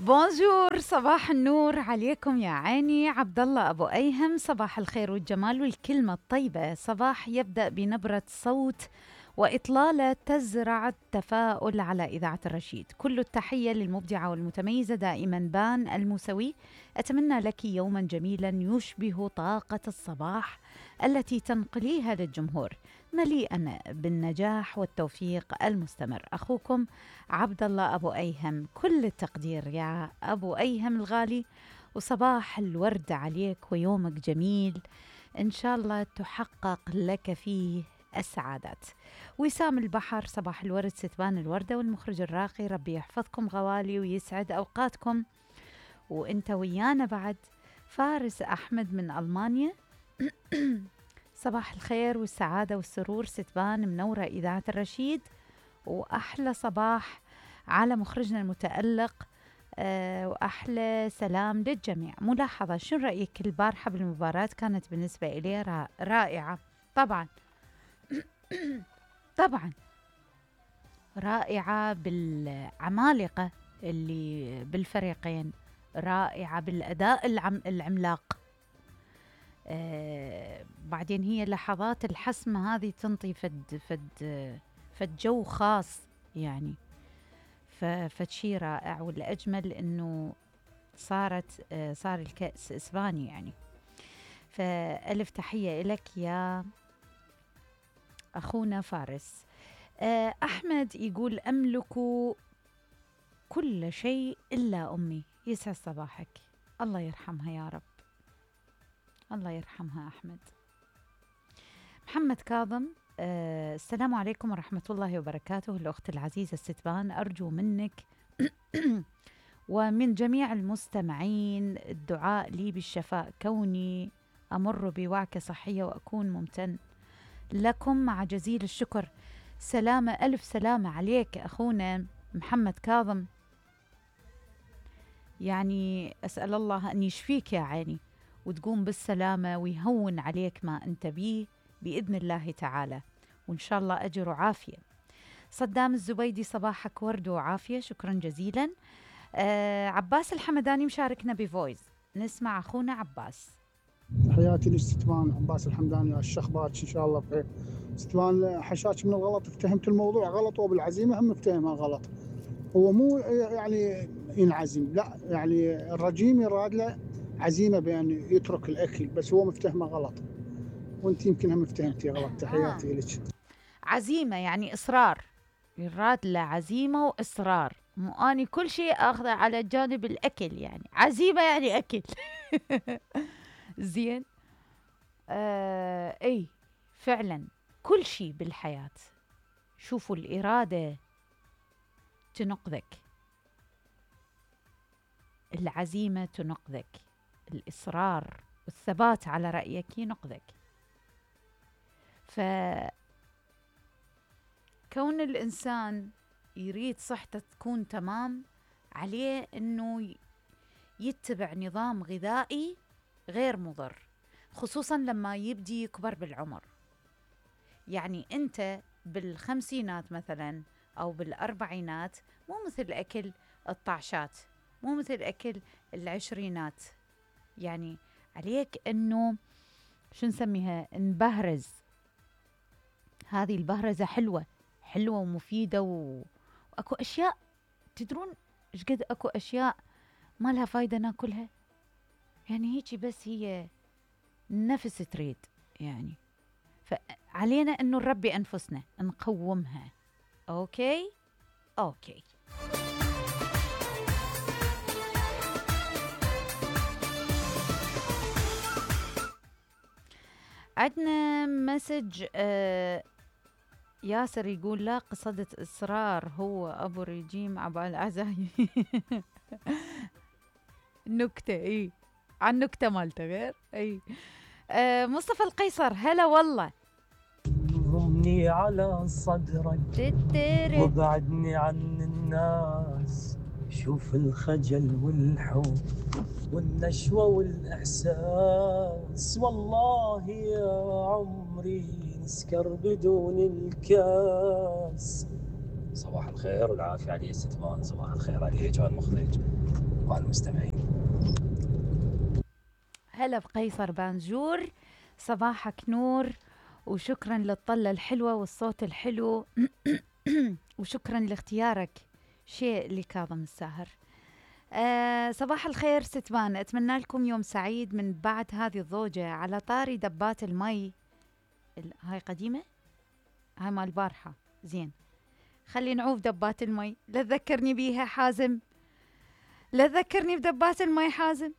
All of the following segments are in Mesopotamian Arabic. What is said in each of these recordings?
بونجور، صباح النور عليكم يا عيني. عبد الله أبو أيهم، صباح الخير والجمال والكلمة الطيبة. صباح يبدأ بنبرة صوت وإطلالة تزرع التفاؤل على إذاعة الرشيد. كل التحية للمبدعة والمتميزة دائما بان الموسوي. أتمنى لك يوما جميلا يشبه طاقة الصباح التي تنقليها للجمهور، مليئا بالنجاح والتوفيق المستمر. أخوكم عبد الله أبو أيهم. كل التقدير يا أبو أيهم الغالي، وصباح الورد عليك ويومك جميل إن شاء الله تحقق لك فيه السعادات. وسام البحر، صباح الورد ستبان الوردة والمخرج الراقي. ربي يحفظكم غوالي ويسعد أوقاتكم وإنت ويانا بعد. فارس أحمد من ألمانيا، صباح الخير والسعادة والسرور ستبان منورة إذاعة الرشيد، وأحلى صباح على مخرجنا المتألق، وأحلى سلام للجميع. ملاحظة، شو رأيك البارحة بالمباراة؟ كانت بالنسبة إلي رائعة طبعا. طبعا رائعة بالعمالقة اللي بالفريقين، رائعة بالأداء العملاق. بعدين هي لحظات الحسم هذه تنطي فد جو خاص يعني، فشي رائع. والأجمل إنه صار الكأس إسباني يعني. فألف تحية لك يا أخونا فارس. أحمد يقول أملك كل شيء إلا أمي. يسعد صباحك، الله يرحمها يا رب، الله يرحمها أحمد. محمد كاظم، السلام عليكم ورحمة الله وبركاته. الأخت العزيزة الستبان، أرجو منك ومن جميع المستمعين الدعاء لي بالشفاء، كوني أمر بوعكة صحية وأكون ممتن لكم مع جزيل الشكر. سلامة، ألف سلامة عليك أخونا محمد كاظم، يعني أسأل الله أن يشفيك يا عيني وتقوم بالسلامة ويهون عليك ما أنت بيه بإذن الله تعالى، وإن شاء الله أجر وعافية. صدام الزبيدي، صباحك ورد وعافية، شكرا جزيلا. عباس الحمداني مشاركنا بفويس، نسمع أخونا عباس. حياتي للستوان، عباس الحمداني. الشخبات إن شاء الله بخير. ستوان، حشاش من الغلط، افتهمت الموضوع غلط، وبالعزيمة هم افتهمها غلط. هو مو يعني ينعزم، لا يعني الرجيم يراد له عزيمة بأن يترك الأكل، بس هو مفتهمه غلط، وانت يمكن هم افتهمتي غلط. تحياتي لك. عزيمة يعني إصرار، يراد له عزيمة وإصرار، مو أني كل شيء أخذه على جانب الأكل، يعني عزيمة يعني أكل. زين. أي فعلا كل شيء بالحياة، شوفوا الإرادة تنقذك، العزيمة تنقذك، الإصرار والثبات على رأيك ينقذك. فكون الإنسان يريد صحته تكون تمام، عليه أنه يتبع نظام غذائي غير مضر، خصوصا لما يبدي يكبر بالعمر. يعني أنت بالخمسينات مثلا أو بالأربعينات مو مثل أكل الطعشات، مو مثل أكل العشرينات. يعني عليك أنه شو نسميها، نبهرز. هذه البهرزة حلوة حلوة ومفيدة، وأكو أشياء تدرون إيش قد أكو أشياء ما لها فايدة ناكلها، يعني هيك بس هي نفس تريد يعني. فعلينا أنه نربي أنفسنا، نقومها. أوكي. عندنا مسج، ياسر يقول لا قصدت إصرار، هو أبو الرجيم عبال العزايم. نكتة، إيه عن نكتة مالته غير. إيه. مصطفى القيصر، هلا والله. ضمني على صدرك وبعدني عن الناس، شوف الخجل والحب والنشوة والإحساس، والله يا عمري نسكر بدون الكاس. صباح الخير والعافية علي ستمان، صباح الخير عليك والمخرج. الأصدقاء المستمعين. هلا بقيصر بانجور، صباحك نور، وشكرا للطلة الحلوة والصوت الحلو وشكرا لاختيارك شيء لكاظم الساهر. صباح الخير ستبان، أتمنى لكم يوم سعيد من بعد هذه الضوجة. على طاري دبات المي، هاي قديمة، هاي مال البارحة، زين خلي نعوف دبات المي، لا تذكرني بيها حازم، لا تذكرني بدبات المي حازم.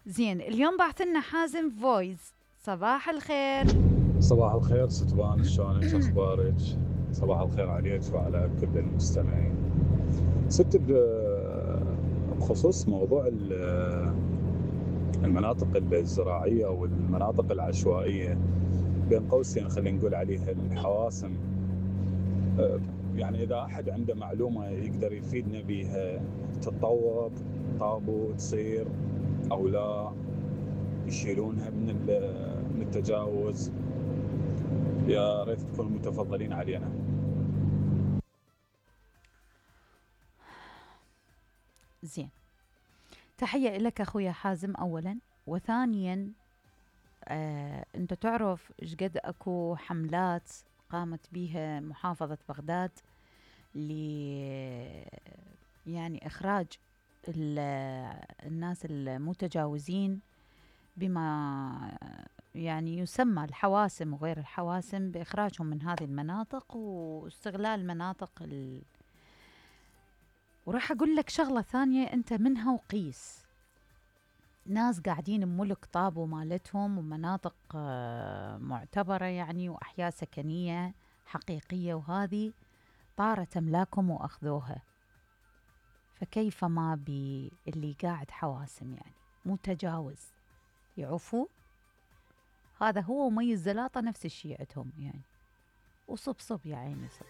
زين اليوم بعثلنا حازم فويس. صباح الخير. صباح الخير ستبان، شلونك اخبارك؟ صباح الخير عليك وعلى كل المستمعين. ست بخصوص موضوع المناطق الزراعية والمناطق العشوائية، بين قوسين خلينا نقول عليها الحواسم، يعني إذا أحد عنده معلومة يقدر يفيدنا بيها، تتطور طابو تصير أو لا، يشيلونها من التجاوز، يا ريت تكونوا متفضلين علينا. زين، تحية لك أخويا حازم أولا، وثانيا أنت تعرف إيش قد أكو حملات قامت بها محافظة بغداد يعني إخراج الناس المتجاوزين بما يعني يسمى الحواسم وغير الحواسم، بإخراجهم من هذه المناطق واستغلال مناطق وراح أقول لك شغلة ثانية أنت منها وقيس. ناس قاعدين بملك طابو مالتهم ومناطق معتبرة يعني وأحياء سكنية حقيقية، وهذه طارت أملاكهم وأخذوها، فكيف ما باللي قاعد حواسم يعني متجاوز يعوفوا؟ هذا هو ومي الزلاطة نفس الشيء عندهم يعني، وصب يا عيني صب.